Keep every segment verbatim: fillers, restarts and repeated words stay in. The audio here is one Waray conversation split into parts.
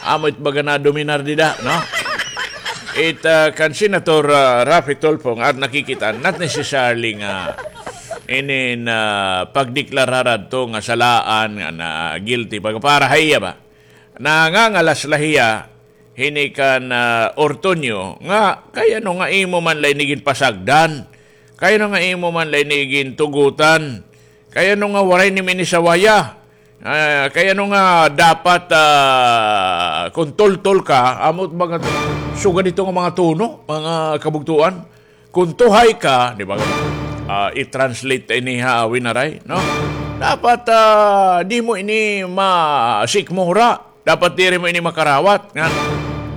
Amo it baga nadominar dida, no? It, ah, kan Senator, ah, Raffy Tulfo nga at nakikita, not necessarily nga inin, ah, pagdeklarar adto nga salaan nga na guilty, pag-, para ha iya ba? Nangangalas la hiya hini kan, ah, Ortuño nga, kay ano nga imo man la ini ginpasagdan? Kay ano nga imo man la ini gintugotan? Kay ano nga waray nimo ini sawaya? Ah, kay ano nga dapat, ah, kon tultol ka, amo it mga sugad hito nga mga tono, mga kabugtoan? Kon tuhay ka, di ba? Ah, i-translate ta ini ha Winaray, no? Dapat, ah, di mo ini masikmura. Dapat diri mo ini makarawat. Nga,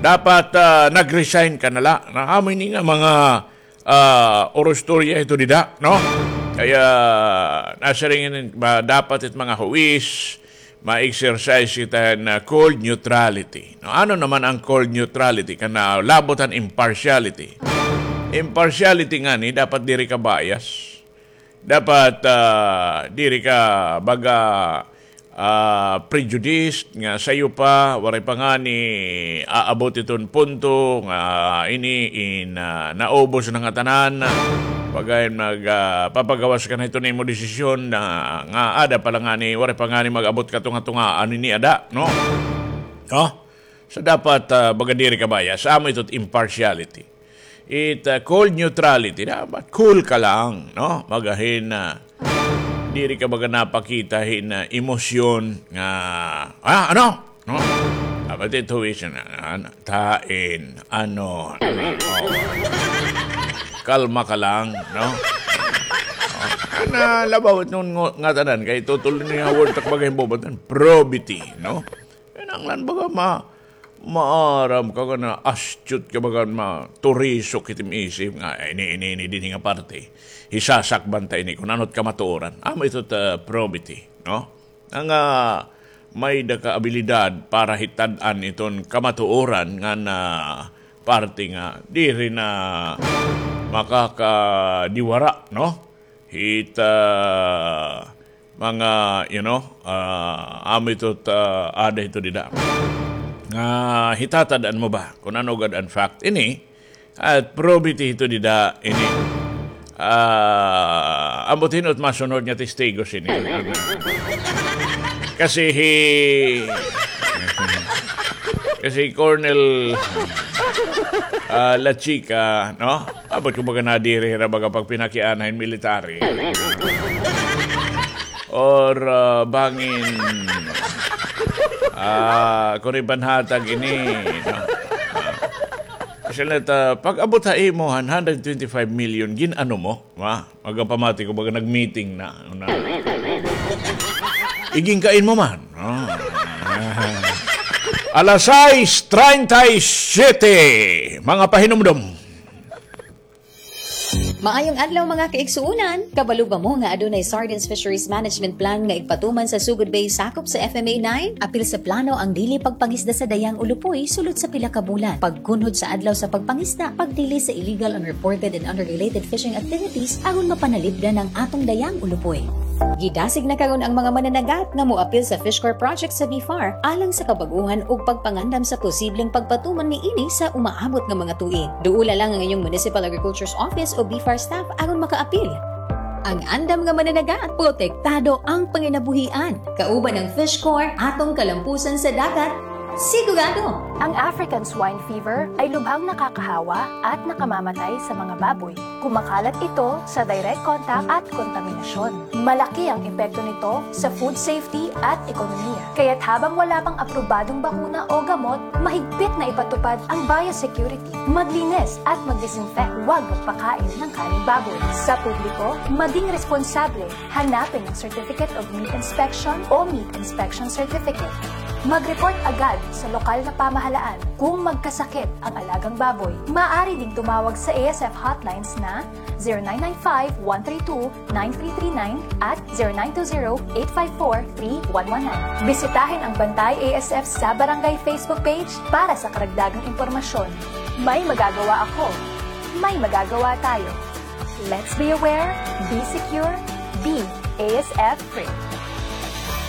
dapat, ah, nag-resign ka na la. Na, amo ini nga mga, ah, orostorya ito dida, no? Kaya, nasiring ini, ba, dapat it mga huwis, ma-exercise kita na cold neutrality. No, ano naman ang cold neutrality? Kana labot han impartiality. Impartiality ngani, dapat diri ka bias. Dapat, ah, diri ka baga, ah, prejudiced nga sayo pa, waray pa ngani aabot iton punto nga ini in, ah, naubos na nga tanan. Pagay nag, ah, papagawas ka na ito nimo desisyon na nga ada pa la ngani, waray pa ngani mag-abot ka tunga-tunga, ano ini ada, no? No? So, dapat, ah, baga diri ka bias. Amo ito it impartiality. It, ah, cold neutrality. Dapat cool ka lang, no? Magahin na diri ka baga napakita hin, ah, emosyon nga, ah, ano? No? Dapat ito is na, na, na, tain, ano, oh. Kalma ka lang, no? Oh. Na labaw it nga, nga tanan, kay tutol niya word tak baga hin bobatan. Probity, no? Kinahanglan baga ma-, maaram ka, kana astute ka, baga maturisok it im isip nga, "Ay, ini, ini, ini, dinhi nga parte. Hisasakban ta ini, kun ano it kamatuoran." Amo ito ta probity, no? Nga may-ada ka abilidad para hitad-an iton kamatuoran nga na parte nga diri na makakadiwara, no? Hit, ah, mga, you know, ah, amo ito, ah, ada ito dida. Nga hitatad-an mo ba kun ano gad an fact ini, at probity ito dida ini. Ah, ambot hin-o it masunod nga testigos ini. Kasi hi-, kasi Colonel, ah, La Chica, no? Ambot ko baga nadiri hira baga pagpinakiana hin military. Or, ah, bangin, ah, kun iban hatag ini, no? Kasi la ta, pag-abot ha imo han hundred twenty-five million, gin-ano mo? Ma, magapamati ko baga nag-meeting na, na. Igingkain mo man. Ah. Alas sais treinta y siete, mga pahinumdom. Maayong adlaw, mga kaigsuonan! Kabalo ba mo nga adunay Sardines Fisheries Management Plan nga igpatuman sa Sugod Bay sakop sa F M A nine? Apil sa plano ang dili pagpangisda sa Dayang Ulupoy sulod sa pila ka bulan. Pagkunhod sa adlaw sa pagpangisda, pagdili sa illegal, unreported, and unregulated fishing activities aron mapanalipdan ang atong Dayang Ulupoy. Gidasig na karon ang mga mananagat nga moapil sa Fish Corps project sa BFAR alang sa kabag-ohan ug pagpangandam sa posibleng pagpatuman niini sa umaabot nga mga tuig. Duola lang ang inyong Municipal Agriculture's Office o BFAR staff aron makaapil. Ang andam nga mananagat, protektado ang panginabuhian. Kauban ang Fish Corps, atong kalampusan sa dagat, sigurado! Ang African Swine Fever ay lubhang nakakahawa at nakamamatay sa mga baboy. Kumakalat ito sa direct contact at kontaminasyon. Malaki ang epekto nito sa food safety at ekonomiya. Kaya't habang wala pang aprobadong bakuna o gamot, mahigpit na ipatupad ang biosecurity. Maglinis at mag-disinfect. Huwag magpakain ng karneng baboy. Sa publiko, maging responsable. Hanapin ang Certificate of Meat Inspection o Meat Inspection Certificate. Mag-report agad sa lokal na pamahalaan kung magkasakit ang alagang baboy. Maaari ding tumawag sa A S F hotlines na zero nine nine five, one three two, nine three three nine at zero nine two zero, eight five four, three one one nine. Bisitahin ang Bantay A S F sa Barangay Facebook page para sa karagdagang impormasyon. May magagawa ako. May magagawa tayo. Let's be aware, be secure, be A S F free.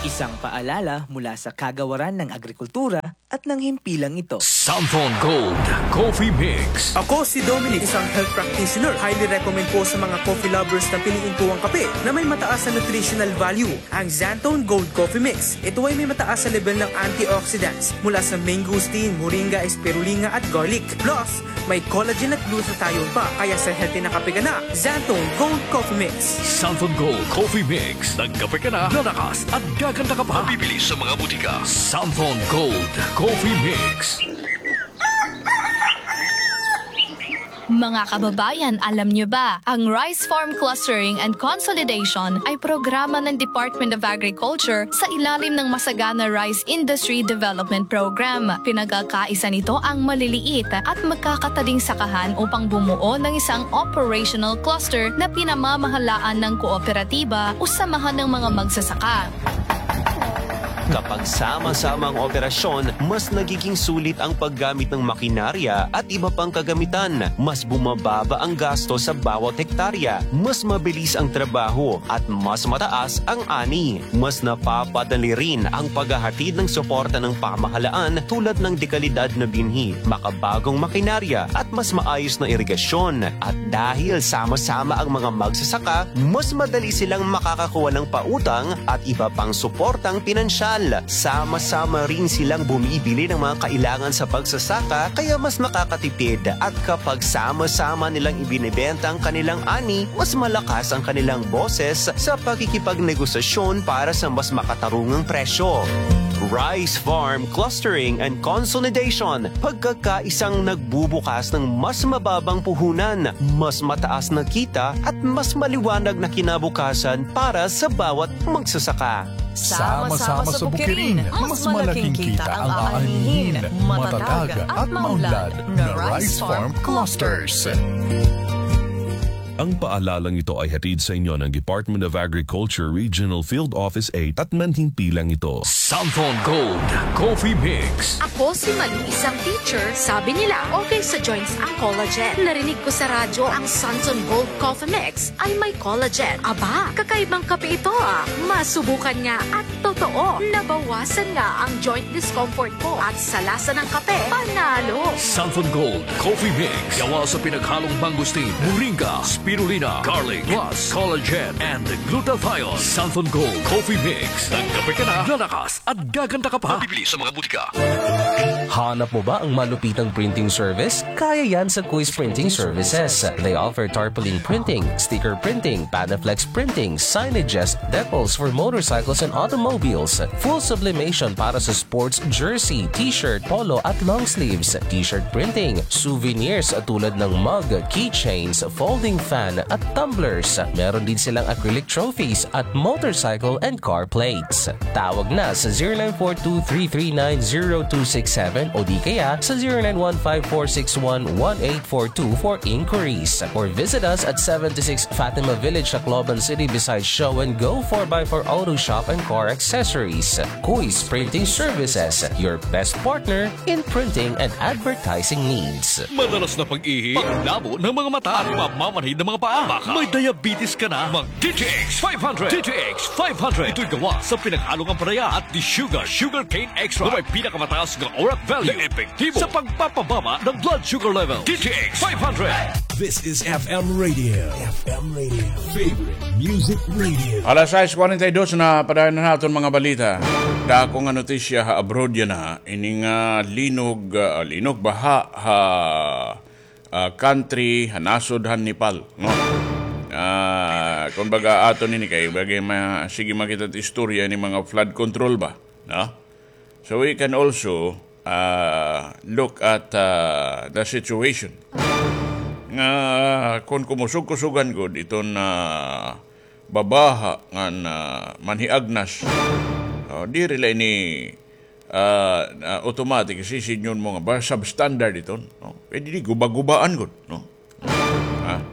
Isang paalala mula sa Kagawaran ng Agrikultura at Nang himpilang ito. Santon Gold Coffee Mix. Ako si Dominic, isang health practitioner. Highly recommend po sa mga coffee lovers na piliin po ang kape na may mataas na nutritional value, ang Santon Gold Coffee Mix. Ito ay may mataas na level ng antioxidants mula sa mangosteen, moringa, spirulina at garlic. Plus, may collagen at glutathione pa, kaya sa healthy na kape ka na, Santon Gold Coffee Mix. Santon Gold Coffee Mix. Nagkape ka na, lalakas at gaganda ka pa. Mabibili sa mga butika. Santon Gold Coffee Mix. Mga kababayan, alam niyo ba, ang Rice Farm Clustering and Consolidation ay programa ng Department of Agriculture sa ilalim ng Masagana Rice Industry Development Program. Pinagkakaisa nito ang maliliit at magkakataling sakahan upang bumuo ng isang operational cluster na pinamamahalaan ng kooperatiba o samahan ng mga magsasaka. Kapag sama-sama ang operasyon, mas nagiging sulit ang paggamit ng makinarya at iba pang kagamitan. Mas bumababa ang gasto sa bawat hektarya, mas mabilis ang trabaho, at mas mataas ang ani. Mas napapadali rin ang paghahatid ng suporta ng pamahalaan tulad ng dekalidad na binhi, makabagong makinarya, at mas maayos na irigasyon. At dahil sama-sama ang mga magsasaka, mas madali silang makakakuha ng pautang at iba pang suportang pinansyal. Sama-sama rin silang bumibili ng mga kailangan sa pagsasaka, kaya mas nakakatipid. At kapag sama-sama nilang ibinebenta ang kanilang ani, mas malakas ang kanilang boses sa pakikipagnegosasyon para sa mas makatarungang presyo. Rice Farm Clustering and Consolidation, pagkakaisang nagbubukas ng mas mababang puhunan, mas mataas na kita at mas maliwanag na kinabukasan para sa bawat magsasaka. Sama-sama sa bukirin, mas malaking kita ang aanihin. Matatag at maunlad na Rice Farm Clusters. Ang paalalang ito ay hatid sa inyo ng Department of Agriculture Regional Field Office eight at manhimpilang ito. Santon Gold Coffee Mix. Ako si Malu, isang teacher. Sabi nila, okay sa joints ang collagen. Narinig ko sa radyo ang Santon Gold Coffee Mix ay may collagen. Aba, kakaibang kape ito ah. Masubukan nga at totoo, nabawasan nga ang joint discomfort ko at sa lasa ng kape, panalo! Santon Gold Coffee Mix. Gawa sa pinaghalong mangosteen, moringa, spirulina, garlic, plus collagen and glutathione. Santon Gold Coffee Mix. Nagkape ka na, lalakas at gaganda ka pa. Mabibili sa mga butika. Hanap mo ba ang malupitang printing service? Kaya yan sa Kuis Printing Services. They offer tarpaulin printing, sticker printing, Panaflex printing, signages, decals for motorcycles and automobiles, full sublimation para sa sports jersey, t-shirt, polo at long sleeves, t-shirt printing, souvenirs tulad ng mug, keychains, folding fan at tumblers. Meron din silang acrylic trophies at motorcycle and car plates. Tawag na sa zero nine four two three three nine zero two six seven o di kaya sa zero nine one five four six one one eight four two for inquiries. Or visit us at seventy-six Fatima Village, Tacloban City, beside Show and Go four by four Auto Shop and Car Accessories. Kuis Printing Services, your best partner in printing and advertising needs. Madalas na pag-ihi, panglabo ng mga mata, at pamamanhid ng mga paa. Baka may diabetes ka na. Mag D T X five hundred. D T X five hundred. Ito'y gawa sa pinaghalong ampalaya at desugar, sugarcane extract, na may pinakamataas nga orat value, na epektibo sa pagpapababa ng blood sugar level. D T X five hundred. This is F M Radio. F M Radio. Favorite music radio. Alas sais kuwarenta y dos na, padayon na naton mga balita. Dako nga notisya ha abroad yana. Ini nga linog, ah, linog, baha ha, ah, country ha nasod han Nepal, no? Ah, kumbaga aton ini kay bagay ma-, sige makita it istorya ini mga flood control ba, no? So we can also, ah, look at, ah, the situation nga kon kumusog-kusugan gud iton, ah, babaha ngan, ah, manhiagnas, oh, diri la ini ah, ah, automatic, sisidngon mo nga ba, substandard iton, no? Pwede di guba-gubaan gud, no? Ah,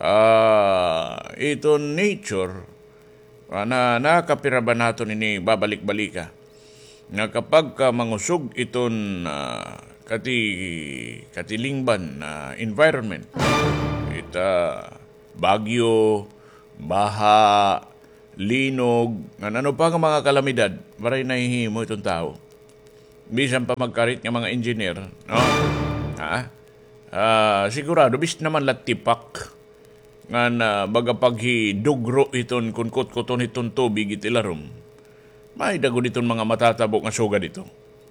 ah, iton nature, ah, na, nakapira ba naton ini babalik-balika? Nga kapag ka mangusog iton, ah, kati-, katilingban, ah, environment, it, ah, bagyo, baha, linog, ngan ano pa nga mga kalamidad, waray nahihimo iton tawo. bisan pa magkarit nga mga engineer, no? Ha? Ah, sigurado, bis naman la tipak ngan baga paghidugro hiton kon kutkuton hiton tubig it ilarom. May-ada gud hiton mga matatabo nga sugad hito.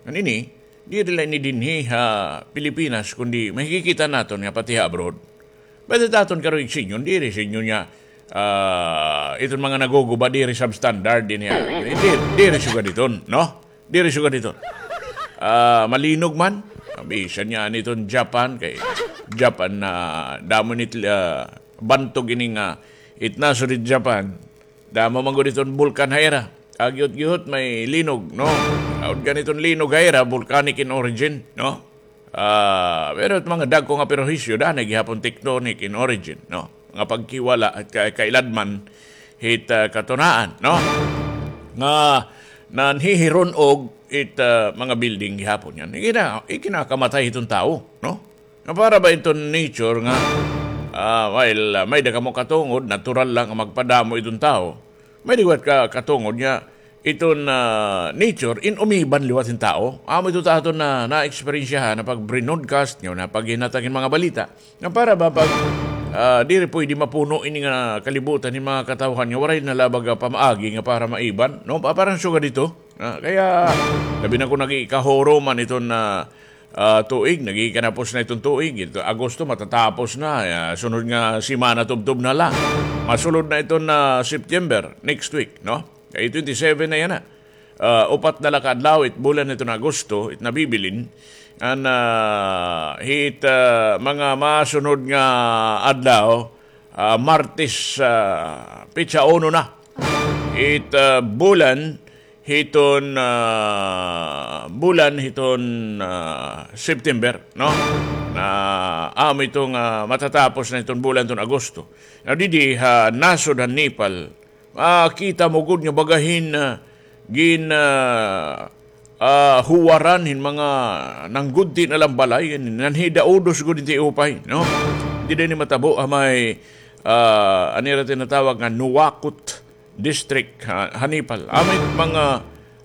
Ngan ini, diri la ini dinhi ha Pilipinas, kundi makikita naton nga pati ha abroad. Pwede ta aton karuyag sidngon, diri sidngon nga, ah, iton mga naguguba, diri substandard dinhi ha. Diri, diri sugad hiton, no? Diri sugad hiton. Ah, malinog man. Bisan nga an iton Japan, kay Japan na damo ini it, ah, bantog ini nga it nasod hit Japan. Damo man gud iton bulkan ha ira. Gihot-gihot may linog, no? Aud gani iton linog ha ira, volcanic in origin, no? Ah, pero it mga dagko nga perwisyo, danay gihapon tectonic in origin, no? Nga pagkiwala at ka-, kailadman hit, ah, katunaan, no? Nga nanhihiron-og it, ah, mga building gihapon yan. Ikina-, ikinakamatay hiton tawo, no? Nga para ba iton nature nga, ah, while, ah, may-ada kamo katungod, natural lang nga magpadamo iton tawo. May liwat ka katungod nga iton, ah, nature, in umiban liwat hin tawo. Amo ito ta aton na, na-eksperyensyahan na pag-broadcast nga, na paghinatag hin mga balita. Nga para ba pag, ah, diri pwede mapuno ini nga kalibutan hin mga katawhan nga waray na la baga pamaagi nga para maiban, no? Pa-, parang sugad ito. Ah, kaya, labi na kon nag-iikahuro man iton na, ah, tuig, nag-iikanapos na iton tuig. Ito, Agosto, matatapos na. Ah, sunod nga semana, tubtob na la. Masulod na iton na September, next week, no? Kay twenty-seven na yana. Ah, upat na la ka adlaw, it bulan iton Agosto, it nabibilin. An, ah, hit, ah, mga masunod nga adlaw, ah, Martes, ah, petsa uno na. It, ah, bulan, hiton, ah, bulan hiton, ah, September, no? Na amo ito nga matatapos na hiton bulan hiton Agosto. Now, didi ha nasod han Nepal, makita mo gud nga baga hin, ah, gin, ah, ah, huwaran hin mga nanggudti na lang balay, nanhidaudos gud hin tiupay, no? Didi ini matabo ha may, ah, ano ira tinatawag nga Nuwakot District ha, ha Nepal. Amo it mga,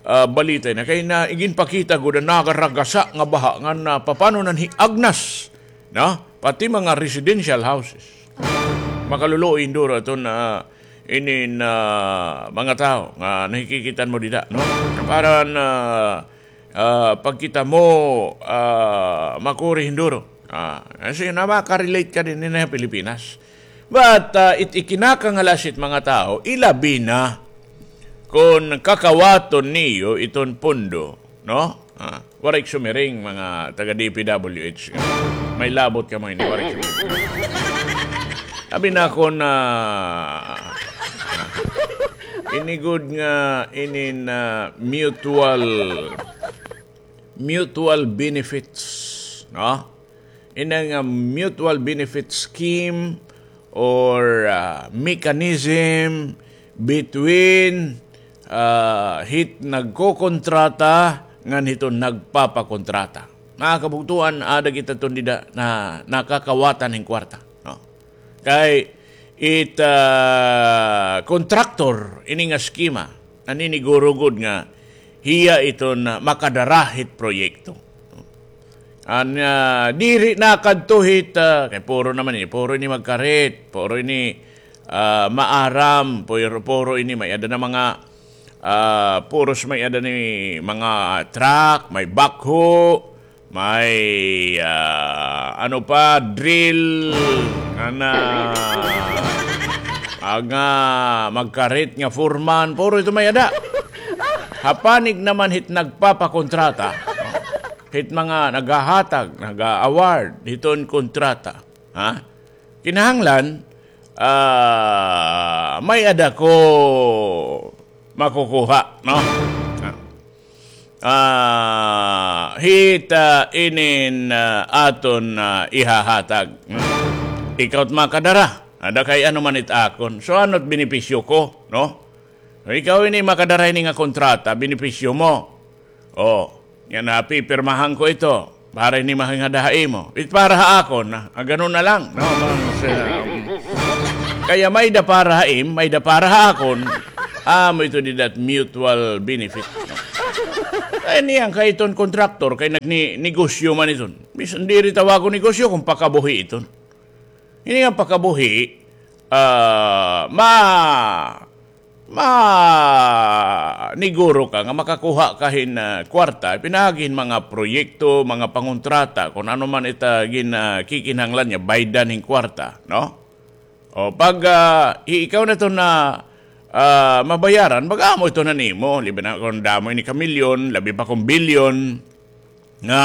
ah, balita na kay na iginpakita gud an nagaragasa nga baha nga na papano nanhiagnas, no? Pati mga residential houses. Makaluluoy hinduro aton, ah, inin, ah, mga tawo nga nakikita mo dida, no? Para na ah, pagkita mo, ah, makuri hinduro. Ah, kasi na makarelate ka dinhi ha Pilipinas. But, ah, it ikinakangalasit mga tawo, ilabi na kon kakawaton niyo iton pondo, no? Ah, waray sumiring, mga taga D P W H. May labot kamo ini, waray sumiring. Abi na kon, ah, ini gud nga, ini na mutual mutual benefits, no? Ini nga mutual benefit scheme or, ah, mechanism between, ah, hit nagkokontrata ngan hiton nagpapakontrata. Mga kabugtoan, ada kita ton dida na nakakawatan hin kwarta, no? Kay it, ah, kontraktor ini nga eskema, naniniguro gud nga hiya iton, ah, makadara hit proyekto. An, ah, diri na kadto hit, ah, kay puro naman ini, puro ini magkarit, puro ini, ah, maaram, puro, puro ini may-ada na mga, ah, puros may-ada ni mga truck, may backhoe, may, ah, ano pa, drill, ana, mga magkarit nga foreman, puro ito may-ada. Ha panig naman hit nagpapakontrata, hit mga naghahatag, nag-a-award hiton kontrata, ha? Kinahanglan, ah, may-ada ko makukuha, no? Ah. Ah, hit, ah, inin, ah, aton, ah, ihahatag. Ikaw it makadara. Ada kay ano man it akon. So, ano it benepisyo ko, no? Ikaw ini makadara ini nga kontrata, benepisyo mo. O, yana, pipirmahan ko ito. Para ini mahingada ha imo. It para ha akon, ah, gano na lang, no? Kaya may-ada para ha im, may-ada para ha akon. Amo ito dida it mutual benefit, no? Ay, niyan kay iton kontraktor, kay nagnegosyo man iton. Bisan diri tawagon negosyo kon pakabuhi iton. Ini nga pakabuhi, ah, ma-, maniguro ka nga makakuha ka hin, ah, kwarta, pinaagi hin mga proyekto, mga pangontrata, kon ano man it, ah, gin-, ah, kikinahanglan niya, baydan hin kwarta, no? O, pag, ah, i-, ikaw na iton, ah, mabayaran, mag-amo iton han imo, labi na kon damo ini ka milyon, labi pa kon bilyon, nga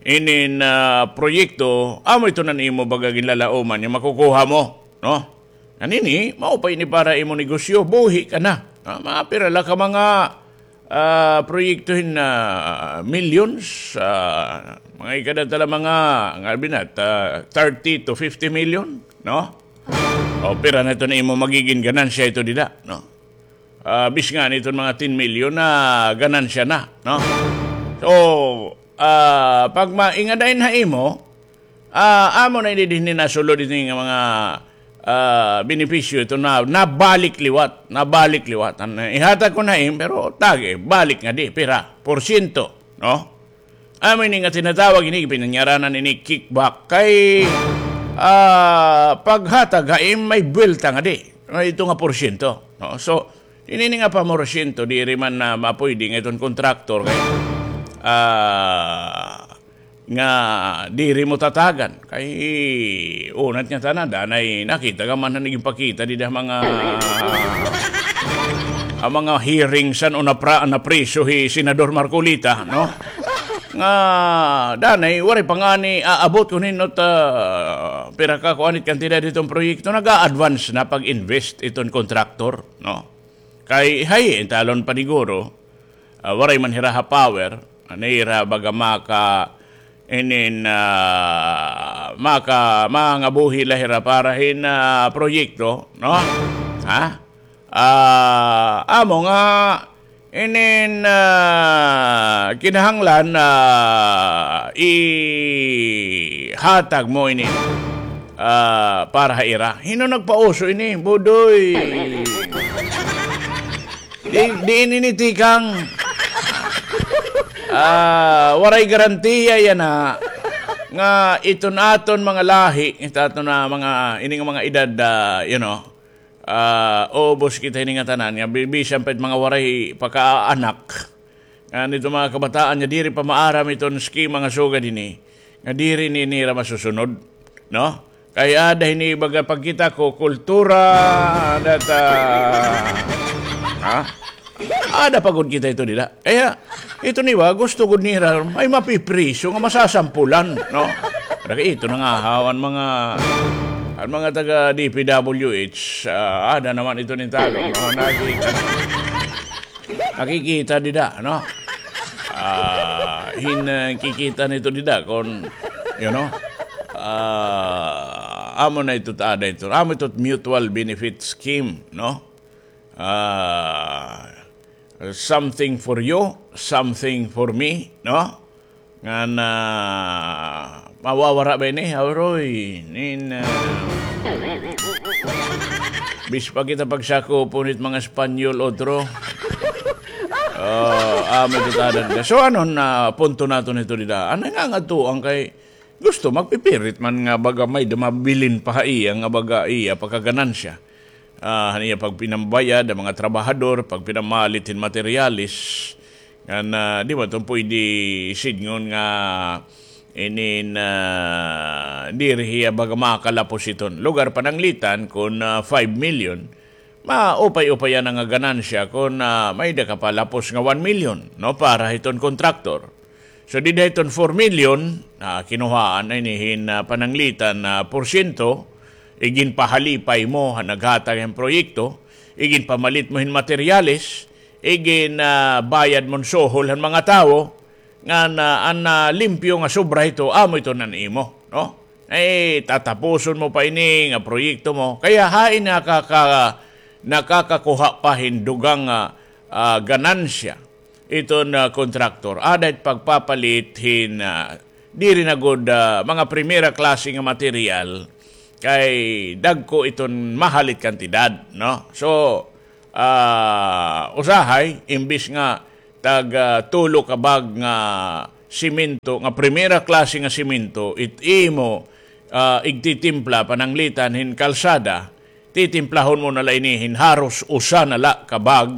inin, ah, proyekto, amo iton han imo baga ginlalauman nga makukuha mo, no? Ngan ini, maupay ini para imo negosyo, buhi ka na. Ah, mga pira la ka mga, ah, proyekto hin, ah, millions, ah, mga ikada ta la mga, nga binat, ah, thirty to fifty million, no? O, pira na iton imo magigin ganansya ito dida, no? Ah, bis nga niton mga ten million na ganansya na, no? So, ah, pag maingadain ha imo, ah, amo na ini dinhi nasulod ini nga mga, ah, benepisyo ito na, nabalik liwat, nabalik liwat. An ihatag ko na im, pero tagi, balik nga di, pira, porsyento, no? Amo ini nga tinatawag ini, pinanyaranan ini kickback. Kay, ah, paghatag ha im may buwelta nga di. Nga ito nga porsyento, no? So, ini nga pamorsiyento, diri man na mapuydi nga iton kontraktor kay, ah, nga diri mo tatagan. Kay, unat nga tanan, danay nakita ka man na nagpakita dida mga ang mga hearing san o napra-, napriso hi Senador Marcoleta, no? Nga danay, waray pa ngani aabot kon hin-o it, ah, pira ka kuan it kantidad hiton proyekto, nag-a-advance na pag-invest iton kontraktor, no? Kay hay, intalon paniguro, ah, waray man hira ha power, ano hira baga maka, inin, ah, maka, mangabuhi la hira para hin, ah, proyekto, no? Ha? Ah, amo nga, inin, ah, kinahanglan, ah, ihatag mo ini, ah, para ha ira. Hin-o nagpauso ini, Budoy? Di, diin ini tikang? Ah, waray garantiya yana nga iton aton mga lahi, it aton nga mga, ini nga mga edad, ah, you know, ah, ubos kita ini nga tanan, nga bi-, bisan pa it mga waray pa kaanak. Ngan iton mga kabataan nga diri pa maaram iton eskema nga sugad ini, nga diri ini nira masusunod, no? Kay ada ini baga pagkita ko, kultura, data, ha? Ada pa gud kita ito dida. Kaya, ito niwa, gusto gud nira, may mapipriso nga masasampulan, no? Kay ito na nga, haw, an mga, an mga taga D P W H, ah, ada naman ito nin Tagalog, no? Nakikita. Nakikita dida, no? Ah, hin, ah, kikita nito dida kon, you know, ah, amo na ito, ada ito, amo ito mutual benefit scheme, no? Ah, something for you, something for me, no? Ngan, ah, mawawara ba ini? Aw, Roy, nin, ah, bis pa kita pagsakupon it mga Espanyol, otro. Oh, amo ito tanan ka. So, ano na punto naton ito dida? Ano nga nga tuang kay gusto, magpipirit man nga baga may dumabilin pa ha iya, nga baga iya, pagkaganansya. Ah, han iya pagpinambayad, an mga trabahador, pagpinamalit hin materyales. Ngan, ah, di ba iton puydi sidngon nga inin, ah, diri hiya baga makalapos iton. Lugar pananglitan, kon, ah, five million, maupay-upay yana nga ganansya kon, ah, may-ada ka pa lapos nga one million, no, para hiton kontraktor. So, dida hiton four million, ah, kinuhaan na ini hin, ah, pananglitan na porsyento, iginpahalipay mo han naghatag hin proyekto, iginpamalit mo hin materyales, igin, ah, bayad mo hin suhol han mga tawo, ngan, ah, an, ah, limpyo nga sobra hito, amo ito an imo, no? Ay, tatapuson mo pa ini nga proyekto mo. Kaya hain nakaka-, nakakakuha pa hin dugang, ah, ah, ganansya iton, ah, kontraktor. Ada it pagpapalit hin, ah, diri na gud, ah, mga primera klase nga material, kay dagko iton mahal it kantidad, no? So, ah, usahay, imbis nga tag, ah, tulo ka bag nga semento, nga primera klase nga semento, it imo, ah, igtitimpla pananglitan hin kalsada, titimplahon mo na la ini hin haros usa na la ka bag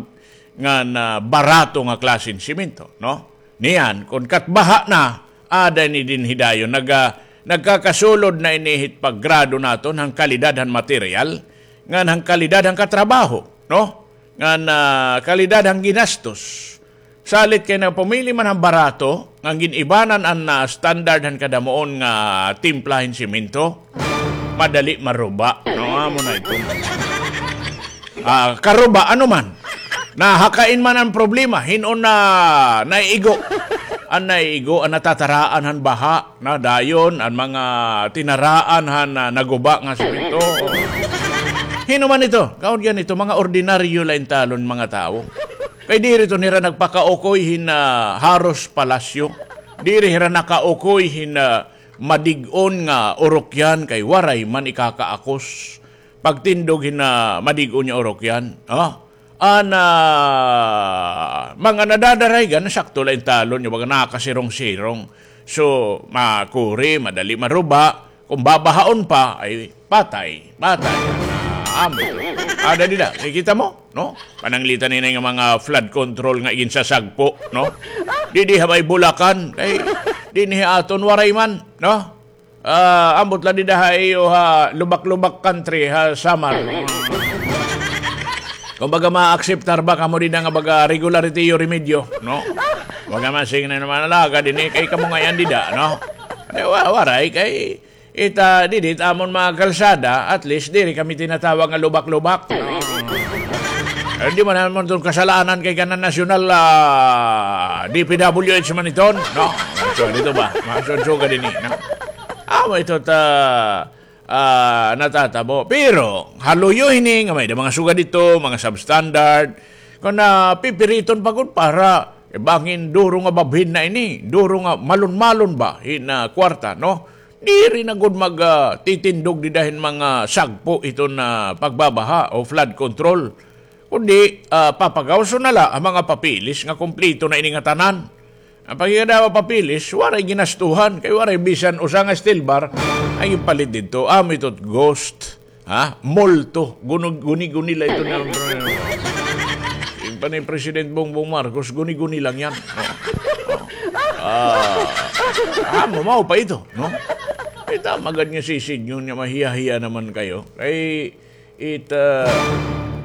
ngan barato nga klase hin semento, no? Niyan, kon katbaha na, ada ini dinhi dayon, nag-, ah, nagkakasulod na ini hit paggrado naton han kalidad han material, ngan han kalidad han katrabaho, no? Ngan, ah, kalidad han ginastos. Salit kay nagpamili man han barato, ngan gin-ibanan an, ah, standard han kadamuon nga timpla hin semento, madali maruba. No, amo na ito. Ah, karuba, ano man? Nahakain man an problema, hin-o na naiigo? An naiigo, an natataraan han baha. Na dayon, an mga tinaraan han, ah, naguba nga semento. Hin-o man ito? Kaon ganito, mga ordinaryo la intalon mga tawo. Kay diri ito nira nagpakaukoy hin, ah, haros palasyo. Diri hira nakaukoy hin, ah, madig-on nga urokyan kay waray man ikakaakos. Pagtindog hin, ah, madig-on nga urokyan. Ah, An, ah, mga nadadaraygan, sakto la intalon niyo, baga nakasirong-sirong. So, makuri, madali maruba. Kung babahaon pa, ay patay, patay. Ah, amo. Ada dida, kikita mo, no? Pananglitan ini nga mga flood control nga iginsasagpo, no? Didi ha may Bulacan, kay dinhi aton waray man, no? Ah, ambot la dida ha iyo ha lubak-lubak country ha Samar. Kumbaga, maakseptar ba kamo dida nga baga regular it iyo remedyo, no? Baga masing na naman alaga dinhi kay kamo ngay-an dida, no? Eh, wa-, waray kay ita didi it amon mga kalsada, at least diri kami tinatawag nga lubak-lubak. Eh, di man namon ton kasalanan kay kanan nasyonal, ah, D P W H man iton, no? So, dito ba? Maksud-sugad ini, no? Amo ito ta, ah, natatabo. Pero, ha luyo hini, nga may da mga sugad dito, mga substandard, kon napipiriton pa gud para, eh, bangin duro nga babhin na ini, duro nga malon-malon ba, hin, ah, kwarta, no? Diri na gud mag, ah, titindog dida hin mga sagpo iton, ah, pagbabaha o flood control. Kundi, ah, papagawson na la an mga papeles nga kumpleto na ini nga tanan. An pagkikadawa papeles, waray ginastuhan, kay waray bisan usa nga steel bar, ay ipalit didto. Amo ito ghost, ha? Multo. Gunog-, guni-guni la ito na. Yung pa ni President Bongbong Marcos, guni-guni lang yan. Oh. Oh. Ah, amo, mao pa ito, no? Ay, tama gad nga sisidngon nga mahiya-hiya naman kayo. Kay, it, ah,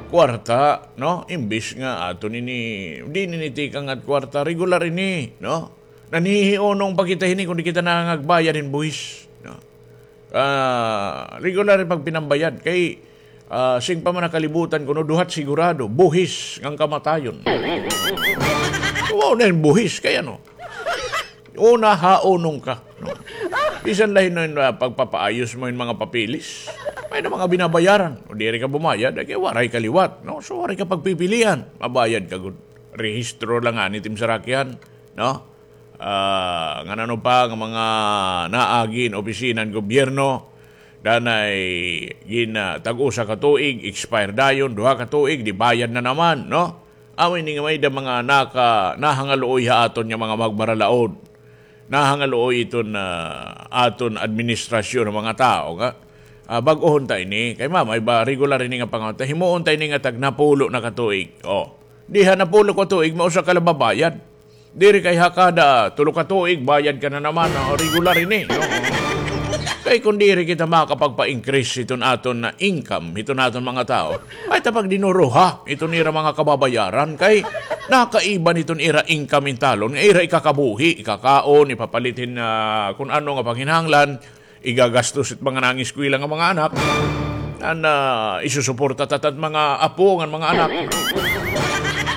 kwarta, no? Imbis nga aton ini, di nini tikang at kwarta, regular ini, no? Nanhihiunong pa kita hini kung di kita nangangagbayad hin buhis, no? Ah, regular it pagpinambayad kay, ah, sing pa man nakalibutan kuno, duhat sigurado, buhis ngan kamatayon. Mao na hin buhis kay ano? Una, haunong ka, no? Bisan la hin, ah, pagpapaayos mo hin mga papeles, may na mga binabayaran. O diri ka bumayad, ay kay waray ka liwat, no? So, waray ka pagpipilian. Mabayad ka gud. Rehistro la ngani it im sarakyan, no? Ah, ngan ano pa nga mga naagi hin opisina han gobyerno, danay gin, ah, tag-usa ka tuig, expire dayon, duha ka tuig, di bayad na naman, no? Amo ini nga may da mga naka-, nahangaluoy ha aton nga mga magbaralaod. Nahangaluoy iton, ah, aton administrasyon nga mga tawo nga, ah, bag-ohon ta ini. Kay mamay ba, regular ini nga pangaon ta. Himuon ta ini nga tag napulo na ka tuig. Oh. Diha napulo ka tuig, mausa ka la babayad. Diri kay ha kada tulo ka tuig, bayad ka na naman, ah, regular ini, no? Kay kon diri kita makapagpa-increase hiton aton nga income, hiton aton mga tawo, ay ta pagdinuruha hiton ira mga kababayaran, kay nakaiban hiton ira income intalon, nga ira ikakabuhi, ikakaon, ipapalit hin, ah, kun ano nga panginahanglan, igagastos it mga nangeskwela nga mga anak, ngan, ah, isusuporta ta it mga apo ngan mga anak.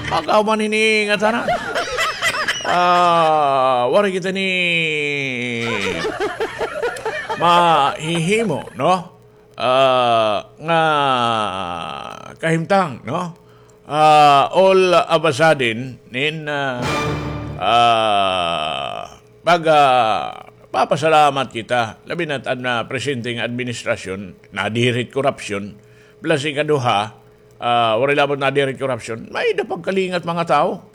Pagkahuman hini nga tanan. Ah, waray kita ni mahihimo, no? Ah, nga kahimtang, no? Ah, all of a sudden, nin, ah, ah, Pag, ah, papasalamat kita, labi na it an, ah, presente nga administrasyon, nadiri it korapsyon, plus ikaduha, ah, waray labot nadiri it korapsyon, may-ada pagkalingat mga tawo.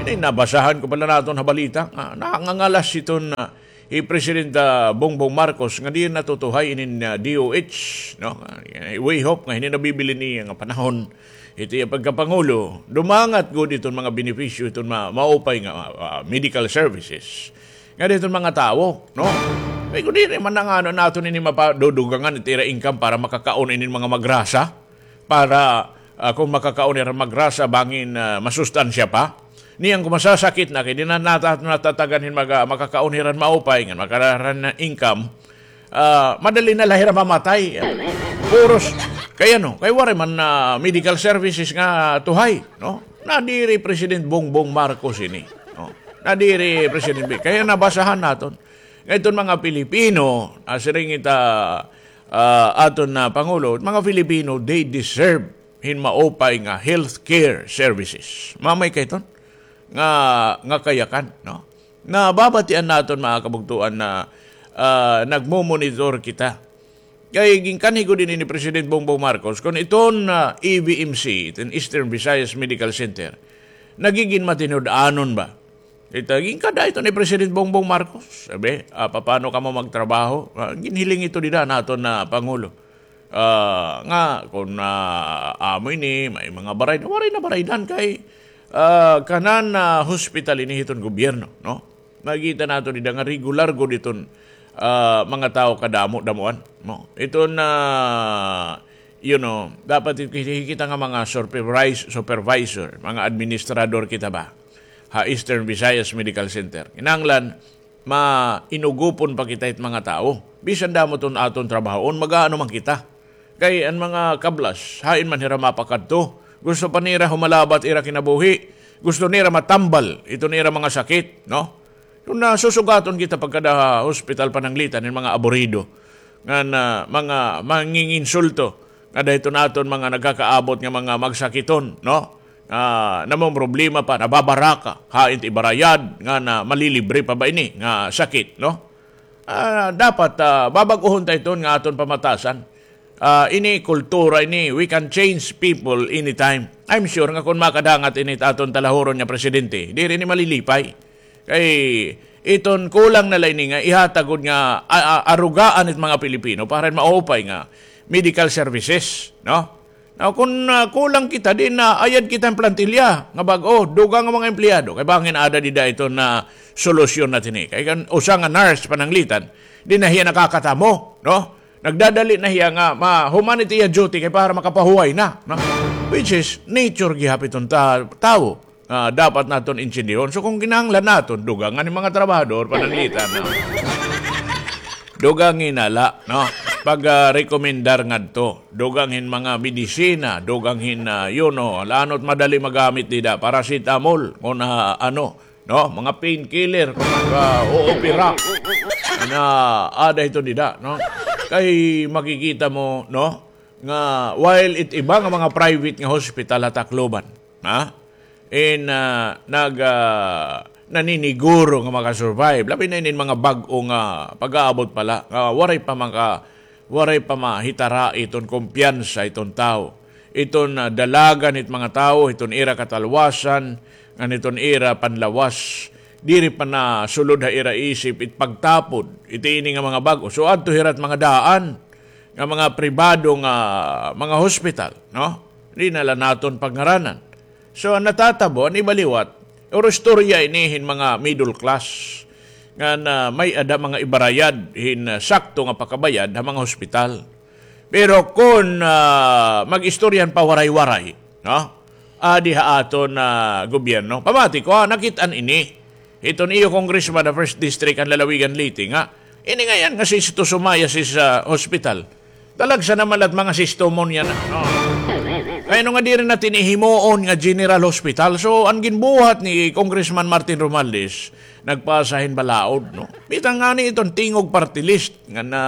Di, nabasahan ko pala naton ha balita nga nangangalas iton, ah, hi President, ah, Bongbong Marcos nga di natutuhay inin, ah, D O H, no? Ah, we hope nga hini nabibilin niya nga panahon ito iya pagkapangulo, dumangat gud iton mga benepisyo, iton ma-, maupay nga, ah, ah, medical services nga diton mga tawo, no? Kay kun diri man nga ano naton ini mapadudugangan it ira income para makakaon inin mga magrasa, para, ah, kon makakaon hira magrasa, bangin, ah, masustansya pa. Niyan kon masasakit na, kay di na nata-, natatagan hin maga-, makakaon hira maupay, ngan makakaon hira income, ah, madali na la hira mamatay. Puros, kay ano, kay waray man na medical services nga tuhay, no? Nadiri President Bongbong Marcos ini, no? Nadiri President B-, kay nabasahan naton nga iton mga Pilipino, ah, siring ita, ah, aton na Pangulo, mga Filipino, they deserve hin maupay nga healthcare services. Mamay kay iton nga, nga kayakan, no? Nababatian naton, mga kabugtoan, na, ah, nagmomonitor kita. Kay ginkanhi gud ini ni President Bongbong Marcos, kon iton, ah, E V M C, iton Eastern Visayas Medical Center, nagigin matinud-anon ba? Ita, ginkada ito ni President Bongbong Marcos. Sabi, ah, "Paano kamo magtrabaho?" Ah, ginhiling ito dida naton na Pangulo. Ah, nga, kon, ah, amo ini, may mga baraydan, waray na baraydan kay, ah, kanan, ah, hospital ini hiton gobyerno, no? Makikita naton dida nga regular gud iton, ah, mga tawo kadamo-damoan, no? Iton, ah, you know, dapat it-, kita nga mga supervis-, supervisor, mga administrador kita ba ha Eastern Visayas Medical Center. Kinahanglan, mainugupon pa kita it mga tawo. Bisan damo iton aton trabahoon, mag-aano man kita. Kay an mga kablas, hain man hira mapakadto. Gusto pa nira humalabat ira kinabuhi. Gusto nira matambal iton ira mga sakit, no? Kon nasusugaton kita pagkada ha hospital pananglitan hin mga aburido, ngan mga manginginsulto, nga dayton aton mga nagkakaabot nga mga magsakiton, no? Ah, namomroblema pa, nababaraka, hain it ibarayad, ngan malilibre pa ba ini nga sakit, no? Ah, dapat, ah, babag-ohon ta iton nga aton pamatasan. Ah, ini kultura ini, we can change people anytime. I'm sure nga kon makadangat ini it aton talahuron nga presidente, diri ini malilipay. Kay iton kulang na la ini nga ihatag gud nga, a-, a-, arugaan it mga Pilipino para maupay nga medical services, no? Now, kon, ah, kulang kita, di na ayad kita hin plantilla nga bag-o, dugang nga mga empleyado. Kay bangin ada dida iton solusyon na tini. Kay kan usa nga nurse pananglitan, di na hiya nakakatamo, no? Nagdadali na hiya nga mahuman it iya duty kay para makapahuway na, no? Which is nature gihap iton ta-, tawo. Ah, dapat naton intindihon. So, kon kinahanglan naton, dugangan hin mga trabahador, pananglitan, no? Dugang hin ala, no? Pag, ah, rekomendar ngadto, dugang hin mga medisina, dugang hin, ah, you know, lanot madali magamit dida, paracetamol, kon, ah, ano, no? Mga painkiller, kon nag-, ah, oopera. Na, ada ito dida, no? Kay makikita mo, no? Nga, while it iba nga mga private nga hospital ha Tacloban, ha? In, ah, nag-, ah, naniniguro nga maka-survive. Labi na inin mga bag-o nga pag-aabot pa la, nga waray pa maka-, waray pa mahitara iton kumpiyansa iton tawo. Iton, ah, dalagan it mga tawo, iton ira katalwasan, ngan iton ira panlawas. Diri pa nasulod ha ira isip it pagtapod iti ini nga mga bag-o. So, adto hira ha mga daan nga mga pribado nga mga hospital, no? Di na la naton pagngaranan. So, an natatabo, an iba liwat, oro istorya ini hin mga middle class nga na may-ada mga ibarayad hin, ah, sakto nga pakabayad ha mga hospital. Pero kon, ah, mag-istorya hin pawaray-waray, no? Adi ha aton, ah, gobyerno. Pamati ko, ah, nakit-an ini hiton iyo congressman ha First District han Lalawigan, Leyte, nga ini ngay-an nga Sisto Sumayas is, ah, hospital. Talagsa naman la it mga Sisto mo niyan, no? Kay ano nga diri na tini himuon nga General Hospital? So, an ginbuhat ni Congressman Martin Romualdez, nagpasa hin balaod, no? Bitaw ngani iton Tingog Party List nga na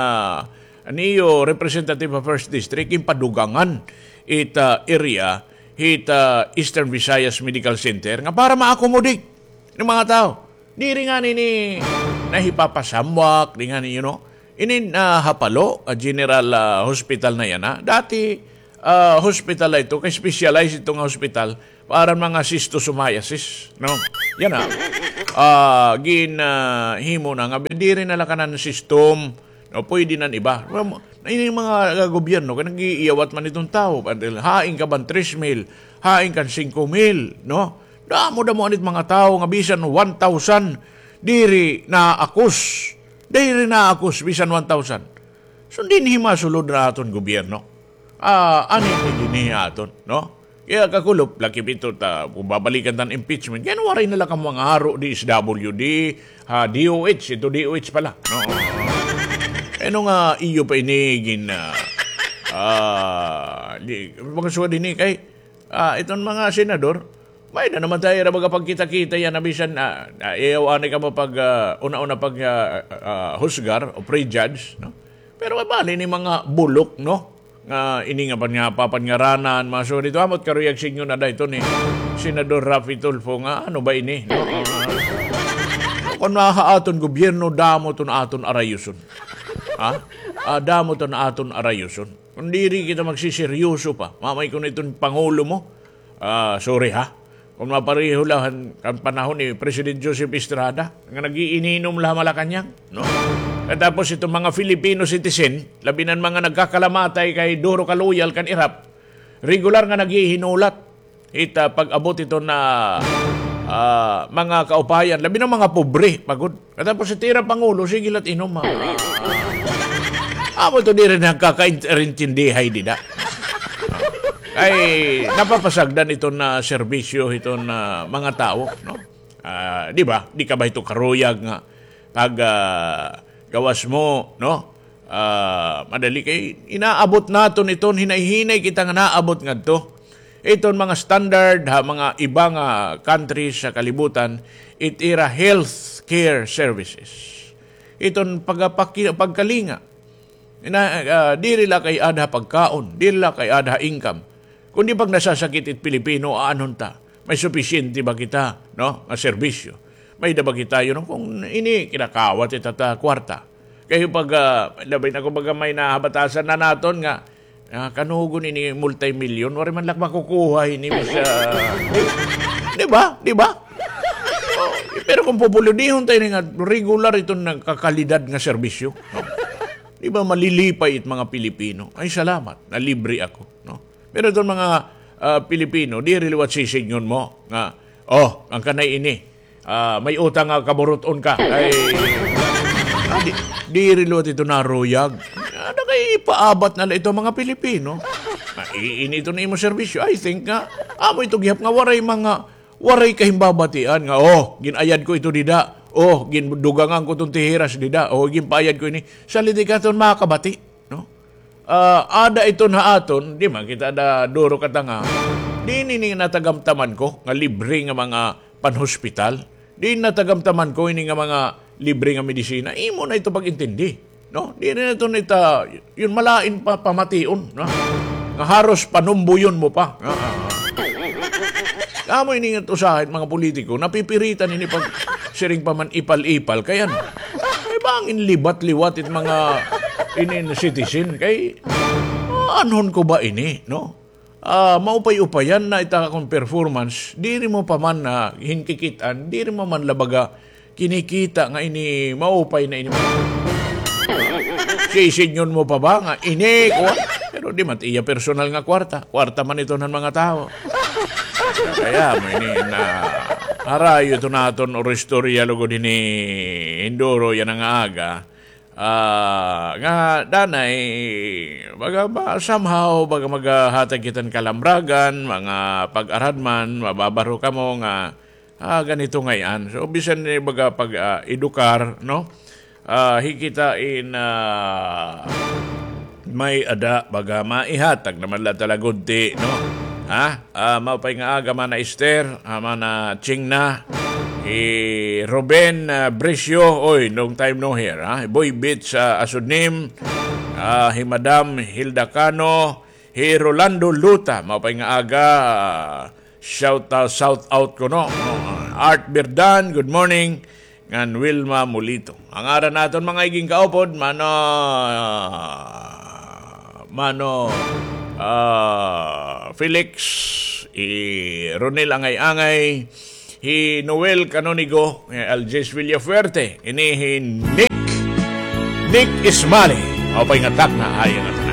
an iyo representative ha First District, ginpadugangan it, ah, area hit, ah, Eastern Visayas Medical Center nga para ma-accommodate hin mga tawo. Diri ngani ini nahipapasamwak, di ngani, you know, ini, ah, Hapalo, ah, General, ah, Hospital na yana. Dati, ah, hospital la ito, kay specialized ito nga hospital para mga schistosomiasis, no? Yana, ah, gin, ah, himo na nga diri na la kanan system, no? Pwede nan iba. Ini mga, ah, gobyerno kay nag-iiyawat man iton tawo, hain ka ban tres mil, hain kan singko mil, no? Damo-damo anit mga tawo nga bisan one thousand diri naakos. Diri naakos bisan one thousand. So dinhi masulod na aton gobyerno. Ah, ani ni dinhi aton, no? Kaya kakulop, lakip ito ta, kung babalikan tan impeachment, kaya waray na la kamo mga haro, D S W D, ha, D O H, ito D O H pala, no? Ano nga iyo pa ini gin, ah, ah, di, mga suwad ini kay, ah, iton mga senador, may na naman tayo ra baga pagkita-kita yan na bisan, ah, ah, iyaw ani ka mo pag, ah, una-una pag, ah, ah, husgar o prejudge, no? Pero bali ni mga bulok, no? Nga ini nga pan nga papangaranan, mga suwad ito, amot karuyag sinyo na da ito ni Senador Raffy Tulfo nga, ano ba ini? No? Kung naha aton gobyerno, damo ton aton arayuson. Ha? Ah, damo ton aton arayuson. Kung diri kita magsiseryoso pa, mamay ko na iton pangulo mo, ah, sorry ha. Kung mapareho la han, kan panahon ni President Joseph Estrada, nga nag-iininom la ha Malacañang, no? Katapos itong mga Filipino citizen, labi nan mga nagkakalamatay kay duro ka loyal kan IRAP, regular nga naghihinulat. Ita pag-abot ito na, ah, mga kaupayan, labi ng mga pobre, pagod. Katapos iti ira pangulo, sige la't inom, ha. Amo to diri nagkakaintindihay dida. Kay napapasagdan ito na serbisyo, ito na mga tao, no? Ah, di ba? Di ka ba ito karuyag nga pag, ah, gawas mo, no? Ah, madali kay inaabot naton iton, hinay-hinay kita nga naabot ngadto. Iton mga standard ha mga iba nga countries sa kalibutan, it ira health care services. Iton pagapaki-, pagkalinga. Ina, ah, diri la kay-ada ha pagkaon, diri la kay-ada ha income. Kundi pag nasasakit it Pilipino, aanhon ta? May supisyente ba kita, no, nga serbisyo? May da ba kita, you know, kung ini kinakawat ita ta kwarta? Kay pag, ah, labi na kung baga may nahabatasan na naton nga, ah, kanugon ini multimilyon, waray man la makukuha ini, mas, ah, di ba? Di ba? Oh, pero kung pupuludihon tayo nga regular iton nagkakalidad nga serbisyo, no? Di ba malilipay it mga Pilipino? Ay, salamat, nalibre ako, no? Pero iton mga, ah, Pilipino, diri liwat sisidngon mo nga, "Oh, an kanay ini, ah, may utang nga kaburut-on ka." Ay, ah, di, diri liwat ito naruyag. Ano kay ipaabat na la ito mga Pilipino? Ah, i-, ini ito na imo serbisyo. I think nga, amo ito gihap nga waray mga, waray kahimbabatian nga, "Oh, gin-ayad ko ito dida. Oh, gindugangan ko itong tihiras dida. Oh, ginpaayad ko ini." Sa liti ka iton makabati, no? Ah, ada iton ha aton, di man kita da duro katanga. Di ini natagamtaman ko nga libre nga mga panhospital. Di natagamtaman ko ini nga mga libre nga medisina. Imo na ito pag-intindi, no? Di na ito nita, yun, malain pa, pamation, no? Nga haros panumbuyon mo pa. Ah, ah, ah. Amo ini nga usahay mga politiko, napipiritan ini pag siring pa man ipal-ipal. Kay ano? Kay bangin libat-liwat it mga inin citizen. Kay, ah, anhon ko ba ini, no? Ah, maupay-upayan na ita akon performance. Diri mo pa man na hinkikit-an, diri mo man la baga kinikita nga ini maupay na ini. Sisidngon mo pa ba nga ini, kuwan? Pero di man iya personal nga kwarta. Kwarta man ito ng mga tao. Kaya mo ini na harayo ito naton or istorya lugod hini hinduro yana nga aga. Ah, nga danay, baga ba, somehow, baga maghatag kita hin kalamragan, mga pag-aradman, mababaro kamo nga, ah, ganito ngay-an. So, bisan ni baga pag, ah, edukar, no? Ah, hikita in, ah, may-ada, baga maihatag naman la talaga gudti, no? Ha? Ah, maupay nga aga, Mana Esther, ah, Mana Chingna, hi Ruben, ah, Bricio, oy, long time no hear, ha? Boy Beats, ah, Asudnim, ah, hi Madam Hilda Cano, hi Rolando Luta, maupay nga aga, ah, shout out, shout out kuno, no? Art Birdan, good morning. Ngan Wilma Mulito. An ngaran naton mga iging kaupod, Mano, Mano, ah, Felix, hi Ronel Angay-Angay, hi Noel Canonigo, hi Algis Villafuerte, ini hi Nick, Nick Ismali. Maupay nga takna, ay, nga